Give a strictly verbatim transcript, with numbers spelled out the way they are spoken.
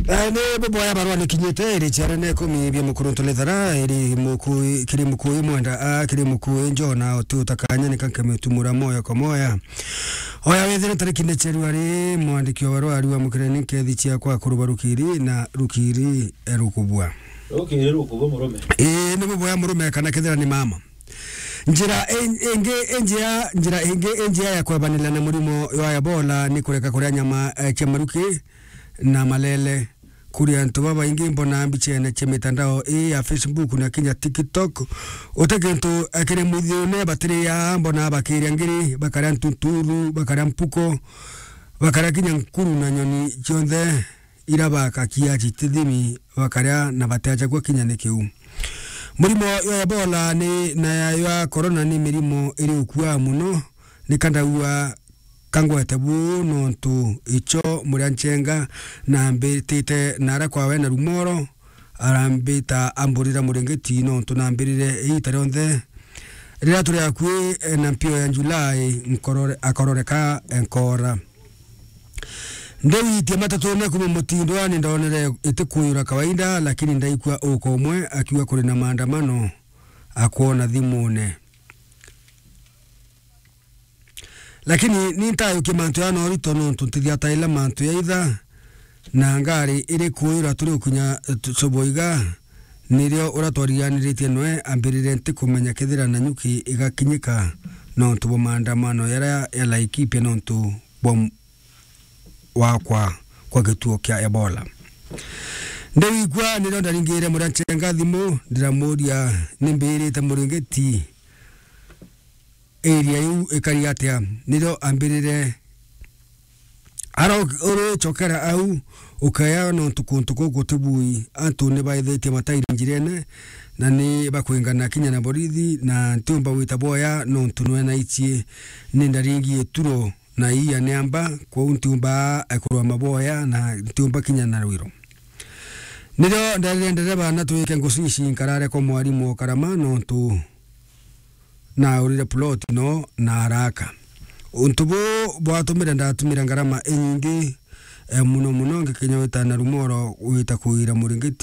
Eh, ni buboya barua nikinyite iri ciarene ikumi bia Mukuruntu Lethara, iri Mukui, kiri Mukui Mwenda, a, kiri Mukui Njona, uti utakanya nika nkemitumura moya kwa moya. Oya wethire tariki ni Januari, mwandiki wa barua ariwa mukireni nkethi ciakwa kuruba rukiri na rukiri, eh, rukubua. Rukiri rukubua murume. Ii, ni buboya murume kana kethira ni mama. Njira in-, ingi injia, njira ingi injia ya kwebanila na murimo wa Ebola ni kureka kuria nyama, eh, cia maruki na malele. Kuri antu babaingi mbona mbichene cia mitandao ii ya Facebook na kinya TikTok. Uti kintu, eh, kiri mwithiune batiria, mbona bakiria ngiri, bakaria ntuturu, bakaria mpuko, bakaria kinya nkuru na nyoni cionthe ira bakakia citithimi bakaria na bateacha gwa kinya ni kiu. Murimo ya Ebola ni, na ya, ya corona ni mirimo iri ukua muno, ni kandaua kangwete bu nontu icho muria nchenga na mbitite nara kwawe na rumoro, arambita amburira muringiti nontu nambirire iita rionthe. Riria turi akui, eh, na mpio ya Julai, nkorore-, akororeka, eh, nkora. Ndiwitie matatune kuma mutindwa, ni ndonere iti kuyura kawaida, lakini ndaikua uka umwe akiuga kuri na maandamano, akwona thimune. Lakini ni ntayukie mantu ya norito nontu ntithiataila mantu ya itha, na ngari iri kuyura turi ukinya, eh, tu-, Soboiga, nirio uria twariganiritie noe ambirire ntikumenya kethira Nanyuki igakinyika nontu bwa maandamano yaria ya Laikipia nontu bwa m-, wakwa kwa gituo kia Ebola. Ndiwigua nirio ndaringire muria nchenga thimu, ndiramuria nimbirite muringiti area iu ikari atia, nirio ambirire ara urichokera au ukaya nontu kuntu kuu gutibui, antu ni baithitie matairi njirene na ni bakwingana kinya na borithi, na ntiumba gwita boya nontu nwena ichie ni ndaringie turo na iya niamba, kwou ntiumba kurwa maboya na ntiumba kinya na rwiro. Nirio nderire ndereba na twike ngucici nkarare kwa mwarimu o Karama nontu naurire plot no na araka. Untu buu bwatumire ndatumira ngarama inyingi, eh, muno muno ngikinya wita na rumoro wita kuira muringiti